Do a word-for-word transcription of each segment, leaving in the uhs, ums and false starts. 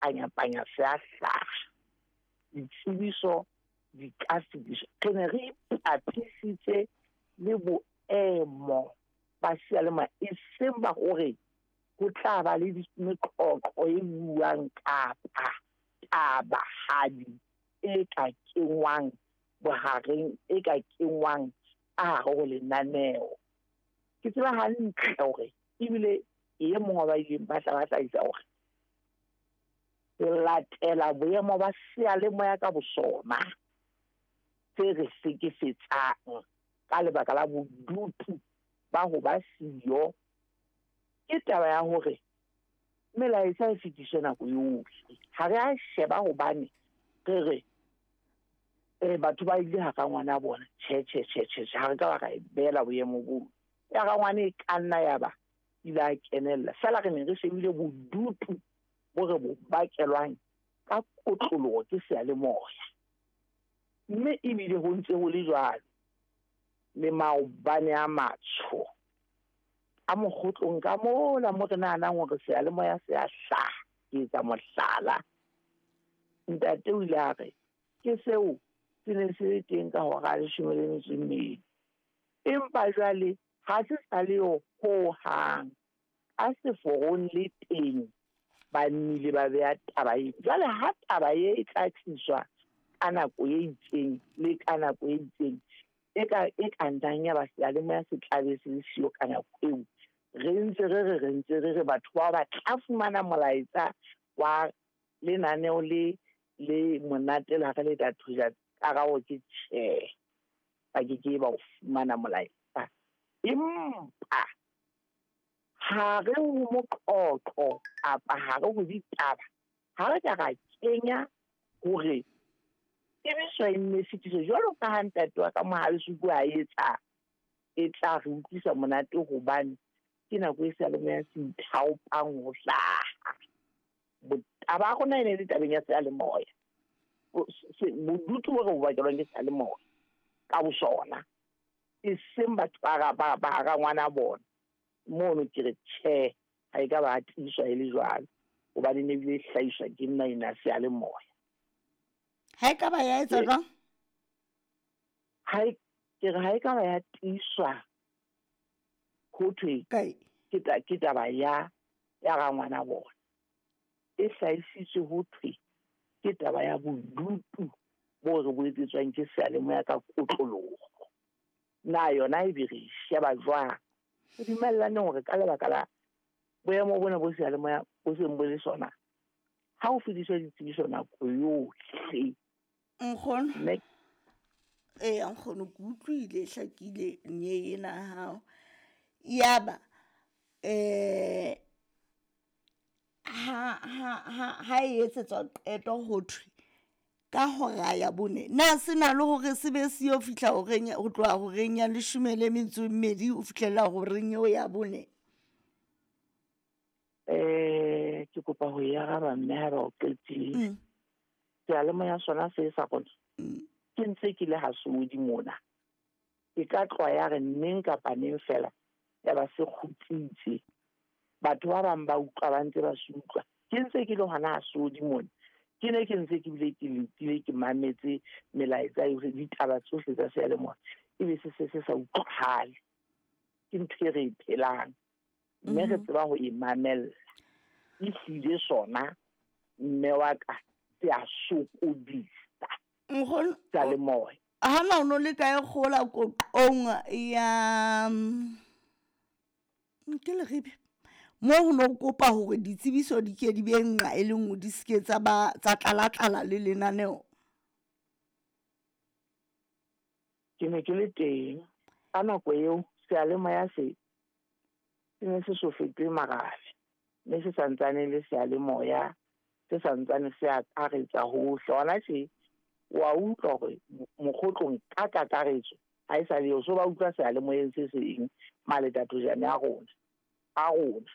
panya-panya se a hlaha. Ditsebiso di ka fetiswa. Re ne re ipapisitse le boemo ba seyalemoya, e seng ba hore ho tla ba le meqoqo e buang kapa tabahadi e ka kengwang bohareng, e ka kengwang ka hare ho lenaneo. Ke tseba hantle hore ebile e mong wa ba ileng ba tla ba hlahisa hore ho latela boemo ba seyalemoya ka bosona se re hlekefetsang ka lebaka la bodutu ba ho ba siyo, ke taba ya hore melaetsa e fetiswe nako yohle. Ha re a sheba hobane re re eh batho ba ile ha rangwana bona. Tjhe, tjhe, tjhe, tjhe, ha re ka ba ra e beela boemo boo. Ya rangwane e ka nna ya ba ile a kenella. Feela re ne re shebile bodutu bo re bo bakelwang ka kotloloho ke seyalemoya. Mme ebile ho ntse ho le jwalo le maobane a matsho a mokgotlong ka mola mo re nahanang hore seyalemoya se a hlaha. Ke etsa mohlala, ntate o ile a re ke seo se ne se le teng ka hora ya leshome le metso e mmedi, empa jwale ha se sa le yo hohang. Ka seforong le teng ba nnile ba beha taba e. Jwale ha taba e e tla tliswa ka nako e itseng le ka nako e itseng, e ka e ka nnang ya ba seyalemoya se tlabe se le siyo ka nako eo, re ntse re re re ntse re re batho bao ba tla fumana molaetsa wa lenaneo le le monate la re le tla thusa. Karabo ke tjhe, ba ke ke ba o fumana molaetsa. Empa ha re ho moqoqo kapa ha re ho ditaba, ha re ka ra kenya hore tsebiso e nne fetiswe jwalo ka ha ntate wa ka Mohalesuku a etsa, e tla re utlwisa monate hobane ke nako e seyalemoya se ithaopang ho hlaha. Taba ya rona e ne le tabeng ya seyalemoya. Bodutu bo re bo bakelwang ke seyalemoya ka bosona, e seng batho ba ba ba rangwana bona. Mono ke re tjhe, ha e ka ba tiiswa e le jwalo, hobane ne ebile e hlahiswa ke nna ena seyalemoya. Ha e ka ba ya etsa jwang? Ha e, ke re ha e ka ba ya tiiswa ho thwe ke ta, ke taba ya ya rangwana bona. E hlahisitswe ho thwe ke taba ya bodutu bo re bo etsetswang ke seyalemoya ka kotloloho. Na yona e be re sheba jwang? Re dumellane hore ka lebaka la boemo bona bo seyalemoya bo seng bo le sona, ha ho fetiswa ditsebiso nako yohle. Nkgono. Mme Ee, nkgono, ke utlwile hlakile nye ena ya hao. Yaba eh ha ha ha ha e etsetswa qeto ho thwe ka hora ya bone, na se na le hore se be se yo fihla horeng ho tloha horeng ya leshome le metso e mmedi ho fihlela horeng eo ya bone? Eh, ke kopa ho e araba mme ha ba o qetile. Mm. Seyalemoya sona se sa rona. Mm. Ke ntse ke le hasodi mona. E ka tloha ya re neng kapa neng fela ya ba se kgutsitse. Batho ba bang ba utlwa ba ntse ba se utlwa. Ke ntse ke le hona hasodi mona. Ke ne ke ntse ke bile ke letile, ke mametse melaetsa yohle, ditaba tsohle tsa seyalemoya, ebe se se se sa utlwahale. Ke ntho e re e phelang, mme re Mhm. tseba ho e mamella. Ehlile sona mme wa ka se a sokodisa. Nkgono, Seyalemoya. ha na o no le kae kgola koqong ya, mm, ke Leribe? Mo ho no kopa hore ditsebiso di ke di be nqa e le nngwe, di se ke tsa ba tsa tlala-tlala le lenaneo. Ke ne ke le teng ka nako eo seyalemoya se se ne se so fetohe marabe, mme se santsane le seyalemoya, se santsane se akaretsa hohle. Hona tje wa utlwa hore mokgotlong ka kakaretso ha e sa le eo, so ba utlwa seyalemoyeng se seng maletatojane a rona, a rona.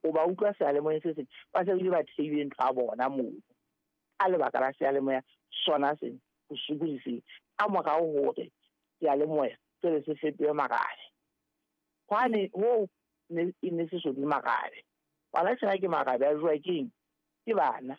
O ba utlwa seyalemoyeng se seng, ba se bile ba theile ntho ya bona moo ka lebaka la seyalemoya sona sena ho sokodiseng ka morao hore seyalemoya sele se fetohe marabe. Hwane hoo ne e ne se so be marabe. Hona tjena ke marabe a jowa ke eng? Ke bana.